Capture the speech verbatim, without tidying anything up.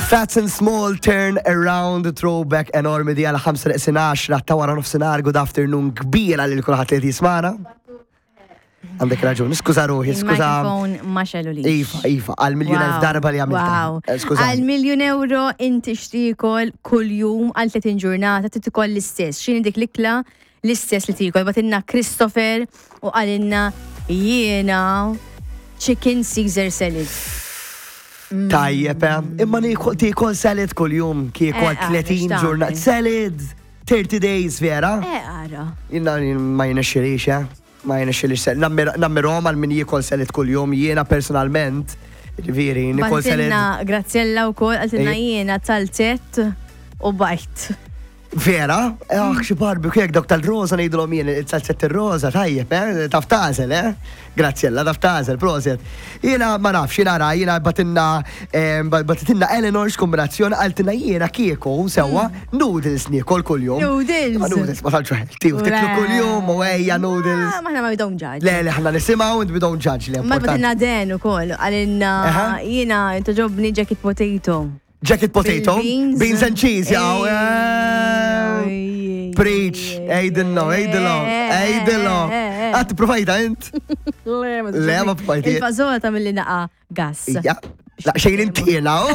Fats and Small, Turn Around, throwback enormi di għal ħamsa neqsin għaxra ta' wara nofsinhar. Good afternoon kbira lil kulħadd li jismana. Għandek raġun, skuża ruħi, skuża. Il-mikrofon ma xegħlux. Iva, iva, għal miljun elf darba li għamilta. Wow. Eh, Skuża. Għal miljun euro inti x'tiekol kull-jum għal tletin ġurnata, tiekol l-istess? X'inhi dik l-ikla l-istess li tiekol? Bagħtilna Christopher u qalilna: "Jiena chicken Caesar salad." Tajjeb, eh? Imma nikol tiekol salad kull-jum, kieku Eh, għal tletin għaliex ġurnata. tagħmel? Salad, thirty days, vera? Eh, ara. Jiena ma jirnexxilix, eh? Ma jirnexxilix salad. Nammirahom għal min jiekol salad kull-jum, jiena personalment, ġifieri, nikol salad. Bagħtilna Graziella u kol, qaltilna Ej. "Jiena zalzett u bajd." Vera? Ah, xi barbecue jek dawk tal-rosa ngħidulhom jien, il-zalzett ir-rosa, tajjeb, eh? Taf tagħżel, eh? Graziella, taf tagħżel, proset. Jiena ma nafx, jiena ra, jiena bagħtilna bagħtitilna Eleanor x'kombinazzjoni, qaltilna: "Jiena kieku sewwa noodles niekol kuljum." Noodles? Ma noodles ma tantx healthy, u tiklu kuljum u ejja noodles. Ah, Maħna ma we don't judge. Le, le, ħna nisimgħu and we don't judge li Ma importanti. bagħtilna Den u kol, qalilna: Aha. "Jiena togħġobni jacket potato." Jacket potato, Bil-beans. Beans and cheese, jaw. Ej, ej, Preach, ejdillo, ejdillo, ejdillo. Għat provajta int? Le, ma Le, ma provajti. Il-fażola ta' mill-li naqa gas. Ja, la xejn intina, oh.